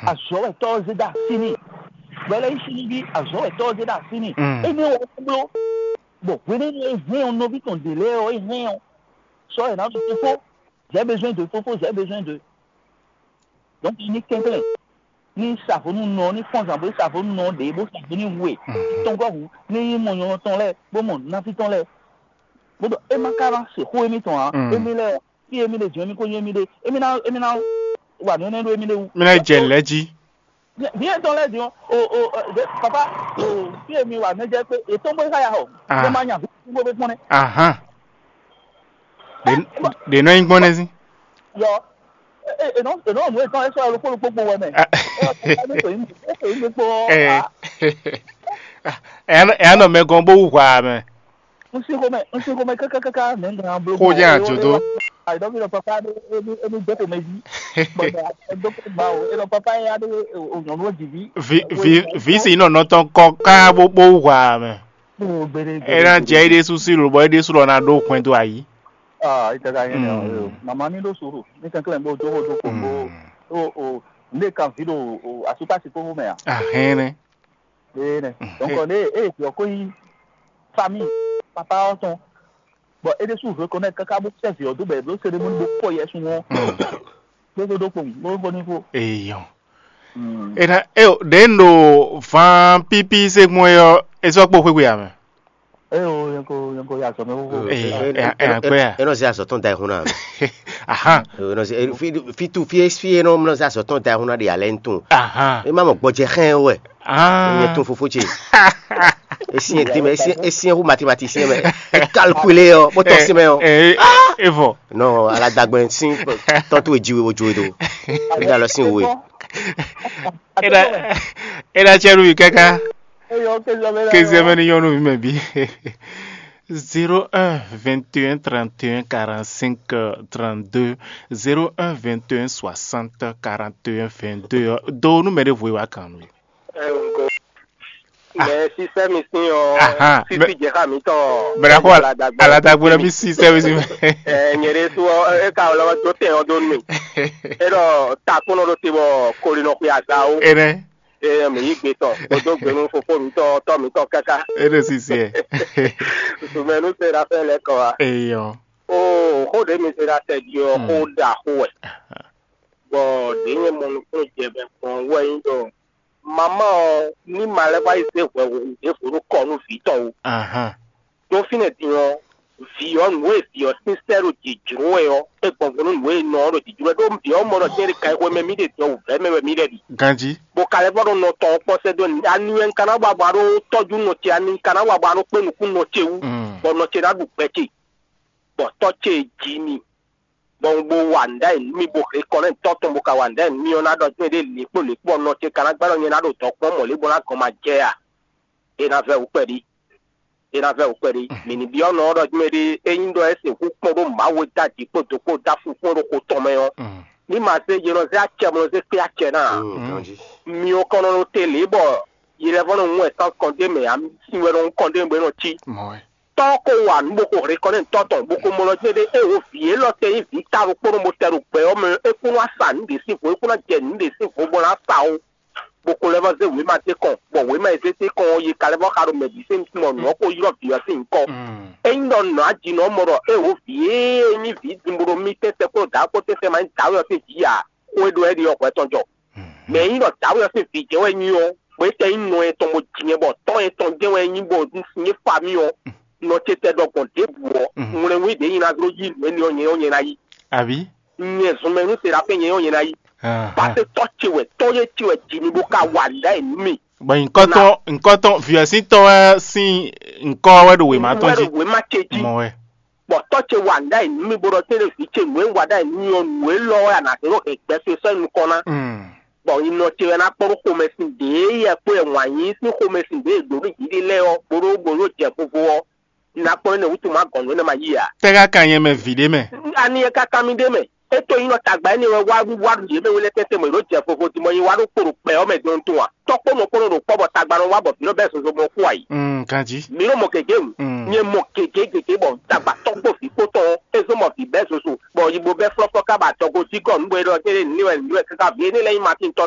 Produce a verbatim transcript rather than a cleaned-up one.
Azɔ̌ wɛ tɔ́ ɔ́ zé dó así n'i. Bɔ é lɛ́ nyí súnnuví azɔ̌ wɛ tɔ́ ɔ́ zé dó así n'i. Énɛ́ wɛ é bló. Bɔ hwenɛ́nu e hɛn ɔ́, nɔví tɔn ɖě lɛ́ɛ ɔ́, é hɛn ɔ́, sɔ́ yě ná ɖo fífó. J'ai besoin de fofo, j'ai besoin de. Donc ní kɛnklɛ́n, ní sa vo nú nɔ, ní fɔ́n zǎn bó sa vo nú nɔ ɖě, bó sa vo ní hu e. Tɔngɔ́ hu, ní nyí mɔ nyɔ̌nu tɔn lɛ́ɛ, bó mɔ nɔví tɔn lɛ́ɛ. Bó ɖɔ é má ka ná se xó émítɔn ǎ. Émí lɛ́ɛ ɔ́, fí émí ɖe jɔ̌n émí ko nyí émí ɖe, émí ná émí ná wa nǔ énɛ́ ɖó émí ɖé wú. Mí ná yi jɛ lɛ̌ jí. Vǐ etɔn lɛ́ɛ din ɔ́, o o ɛ, papa, o fí e mi wa mɛ jɛ pé etɔn bó xá ya xɔ, Ah. Bó ma nya vǐ bó bɛ kpɔ́n nɛ́. Ahan. Ɖě ɖě nɔ nyí gbɔn nɛ́ sín. Yɔ, e e nɔ e nɔ nu etɔn ɛsɔ ɛlò kpólo kpókpo wɛ mɛ. Ah. Ɛ ɔ papa ní tòyí ní tòyí ní kpó. Ɛ Ah. Ɛ anɔ mɛ gɔn bó wú hwa mɛ. N sin xomɛ, n sin xomɛ kákákáká, mɛ n gan blo. Xó jẹ́ àjòdó. Àìdọ́bí lọ papa ní ní ní dókò mɛ jí. Bọ̀dọ̀ àìdọ́kò gbà o, é lọ papa yá ní òyìnbó jìbí. Vi vi vi si nɔ nɔ tɔn kɔ ká bó bó wà mɛ. Gbére gbére. É ná jẹ é ɖésú sí lò bɔ é ɖésú lɔ ná ɖó hwɛndo ayí. Ah, ìtẹ̀ka yẹn ni o. Màmá ní ló sòrò, ní kẹ́kẹ́ lẹ́yìn bó dókò dókò bó o o ndé kan fi ɖo o asúkpásí kókó mɛ a. Ahɛn nɛ. Ee nɛ. Donc ne e jɔ ko yi famille papa ɔ́ tɔn. Bon, é ɖésú reconnaître káká bó sɛ́ vǐ ɔ́ dó bɔ è bló cérémonie bó kpɔ yɛ sun ɔ́. Bó dó ɖó kpowun, bó xo ní xo. Eyɔn. Ena eo ɖe n ɖo van pípí se gbɔn é ɔ́, é sɔ́ kpó xwéxwe ame. Eo yɛn ko yɛn ko ya zɔ mɛ xóxó. Ee, ɛ ɛ ɛ akpɛ ya. E nɔ se azɔ tɔn da ehun na. Ahan. E nɔ se fi fi tu fi fi e nɔ se azɔ tɔn da ehun na de alɛ n tun. Ahan. E ma mɔ gbɔjɛ xɛn wɛ. Ah. Nyɛ tún fofó ce. Esi ɛ dín mɛ, esi esi ɛ hu mathématicien mɛ. E calculer ɔ, bó tɔ́ sí mɛ ɔ. Ɛ ɛ evɔ. Non, ala dagbɛ sín tɔ́ntú e jiwe wo jo e do. Ní alɔ sín wo e. Ena ena cɛ nu yi kaka. Kézia mɛ ni nyɔnu mi mɛ bi. Zéro un vingt et un trente et un quarante-cinq trente-deux, zéro un vingt et un soixante quarante et un vingt-deux. Do nu mɛ ɖe vo wa kan nu. Ɛ ŋgɔ. Mɛ sísɛ mi sín ɔ. Ahan, sísí jɛ xá mi tɔn. Mɛ na kó aladagbɔ lɔ mi sísɛ mi sín. Ɛ nyɛ ɖe sú ɔ, e ka lɔ dó tɛ ɔ dó nu. E ɖɔ takpɔnɔ ɖo te bɔ kolinɔ xwe aza o. Enɛ. E mi yí gbe tɔn, kpódó gbenu fofó mi tɔn, tɔ mi tɔn káká. E ɖo sísɛ. Sumɛnu se ɖa fɛ lɛ kɔ wa. Eyɔ. O xó ɖe mi se ɖa tɛ di ɔ, xó ɖa xó wɛ. Bɔ ɖě nyɛ mɔ nukúnnú jɛ bɛ gbɔn wɛ nyí ɖɔ mama ɔ ní ma lɛ́ wá yi zé hwɛhwɛhwu ɖěvo ɖó kɔ nú vǐ tɔn ó. Ahan. Ɖó fínɛ́ din ɔ́, vǐ ɔ́ nǔ e vǐ ɔ́ sín sɛ́ ɖo jǐjló wɛ ɔ́, é gbɔn vo nú nǔ e nɔ ɔ́ ɖo jǐjló wɛ. Ɖó vǐ ɔ́ mɔ ɖɔ jɛ́n ɖi kan e xwemɛ mì ɖe din ɔ́ wǔvɛ́ mɛ wɛ mì lɛ́ ɖi. Ganjí. Bó ka lɛ́ vɔ́ ɖo nɔ tɔn ɔ́ kpɔ́ sɛ́ dó nǔ. Ani wɛ un ka ná wa bɔ a ɖó tɔ́jú nɔ ce, ani un ka ná wa bɔ a ɖó kpé nukún nɔ ce wú, Mm. Bɔ nɔ ce ná ɖu gbɛ ce, bɔ tɔ́ ce e ji mi, bɔ un bo wa nǔ ɖ'ayǐ nú mì, bo hɛn kɔ nú tɔ́ tɔn, bó ka wa nǔ ɖ'ayǐ nú mì ɔ́, ná ɖɔ jɛ́n ɖě lě kpó lě kpó ɔ́, nɔ ce ka ná gbá ɖɔ nyɛ ná ɖo dɔ̌n kpɔ́n mɔ̌ lě bó ná gɔn ma jɛ a? É ná vɛ́ wǔ kpɛɖí. É ná vɛ́ wǔ kpɛɖí. Mǐ ní byɔ́ nɔ ɔ́ ɖɔ jɛ́n ɖě é nyí ɖɔ é sixú kpɔ́n ɖó Mawu e dó aji kpó do kpó dó afú kpɔ́n ɖo xo tɔn mɛ ɔ́. Ní ma zé yě nɔ zé acɛ bó nɔ zé kpé acɛ ná ǎ. Mi ɔ́ kɔn nɔ ɖo te lě bɔ yi lɛ́ vɔ́ nɔ ŋú wɛ tán kɔndé mɛ ǎ, sin wɛ nɔ ŋú kɔndé bó é nɔ cí. Tɔ́ ɔ́ ko wa nǔ bó ko hɛn kɔ nú tɔ́ tɔn, bó ko mɔ lɔ jɛ́n ɖé é wǒ vǐ élɔ́ tɛ nyí vǐ ta ɖokpónɔ bó tɛ ɖo gbɛ ɔ́ mɛ, é kún wá sa nǔ ɖě sín vo, é kún ná jɛ nǔ ɖě sín vo bó ná sa ó. Bó ko lɛ́ vɔ́ zé wěma dó kɔn, bɔ wěma e zé dó kɔn ɔ́, yi ka lɛ́ vɔ́ xa ɖo mɛ bǐ sín mɔ nǔ ɔ́ ko ylɔ́ vǐ ɔ́ sín nyǐkɔ. Ényí ɖɔ nǔ ajinɔ ɔ́ mɔ ɖɔ é wǒ vǐ e nyí vǐ din bó ɖo mì tɛ́nsɛ kpó dǎwe kpó tɛ́nsɛ ma nyí dǎwe ɔ́ sín vǐ ǎ, xó e ɖɔ é ɖi ɔ́ hwɛ tɔn jɔ. Mɛ e nyí ɖɔ dǎwe ɔ́ sín vǐ jɛ́n wɛ nyí ɔ́, bɔ é tɛ nyí nɔ etɔn bó ji nyɛ bɔ tɔ́ etɔn jɛ́n wɛ nyí bɔ un sin é fa mì ɔ́, nɔ ce tɛ ɖɔ gbɔn ɖěbǔ ɔ́, ŋwlɛnwí ɖě nyi ná dó yí nǔ énɛ́ ɔ́ nyɛ ɔ́ nyɛ ná yí. Abǐ? Nyɛ zɔnmɛ nú Serafin nyɛ ɔ́ nyɛ ná yí. Paseke tɔ́ ce wɛ, tɔ́ e ce wɛ ji mi bó ka wa nǔ ɖ'ayǐ nú mì. Bɔ nyǐkɔtɔn nyǐkɔtɔn vǐ ɔ́ sín tɔ́ wɛ sín nyǐkɔ wɛ ɖo wěma tɔn jí. Wɛ ɖo wěma ce jí. Mɔ wɛ. Bɔ tɔ́ ce wa nǔ ɖ'ayǐ nú mì bó ɖɔ tɛ́nɖé vǐ ce nǔ e un wa ɖ'ayǐ nú mì ɔ́, nǔ élɔ́ wɛ a nǎ zé ɖó hɛ̌ngbɛ ce sɔ́ nyi nukɔn ná. Bɔ nyi nɔ ce wɛ ná kpɔ́n ɖó xomɛsin ɖě yɛ kpó yɛ wǎn yíyí sín xomɛsin ɖě e ɖǒ nú jǐ ɖe lɛ́ɛ ɔ́, bó ɖó bó ɖó jɛ vovo ɔ́, un ná kpɔ́n énɛ́ wútu má gɔn nǔ énɛ́ ma yí ǎ. Tɛ́ ka kan nyɛ mɛ vǐ ɖé mɛ? Ani e ka kan mì ɖé mɛ? É to nyí nɔ tagba énɛ́ wɛ wá wá ɖu yě mɛ we lɛ́ɛ tɛ́ntɛn mɔ yě ɖó jɛ vovo din bɔ nyi wá ɖó kpo ɖo gbɛ ɔ́ mɛ dɔn tɔn a? Tɔ́ kpó nɔ kpó nɔ ɖo kpɔ́ bɔ tagba nɔ wá bɔ vǐ nɔ bɛ́ zozo mɔ kú a yi. Mm, ganjí. Mi nɔ mɔ gěgé nu. Mm. Nyɛ mɔ gěgé gěgé bɔ tagba tɔ́ kpó vǐ kpó tɔn é zɔ́n mɔ vǐ bɛ́ zozo bɔ yibo bɛ́ flɔ́flɔ́ ká ba dɔgo jí gɔ́ nǔ bɔ é ɖɔ kéré nǔ wɛ nǔ wɛ káká vǐ énɛ́ lɛ́ɛ nyí Matín tɔ́